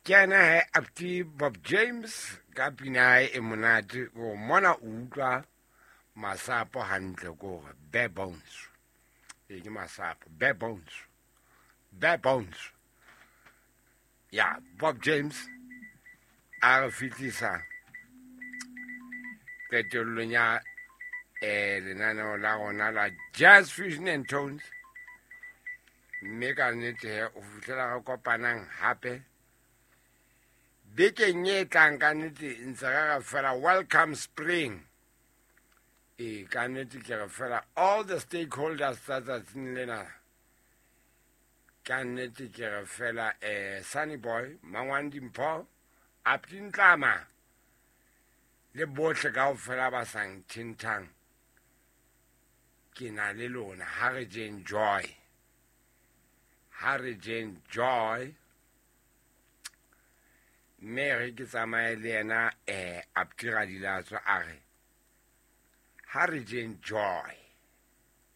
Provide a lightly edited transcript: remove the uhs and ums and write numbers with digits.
Ke ena he Apti Bob James ka pina ya hae e monate o mona o utlwa masapo hantle ko hore bare bones. E ke masapo bare bones. Bare bones. Ya Bob James a re fitlisa qetellong ya lenaneo la rona la Jazz Fusion and Tones. Mme ka nnete he o fihlela re kopanang hape bekeng e tlang. Ka nnete ntse re re fela welcome spring. E ka nnete ke re fela all the stakeholders tsa tsatsing lena. Ka nnete ke re fela Sunny Boy, Mangwang Dimpho, Apti Ntlama le bohle kaofela ba sa nthintang, ke na le lona. Ha re jeng joy, ha re jeng joy. Mme re ke tsamaye le yena Apti Radilatso a re ha re jeng joy.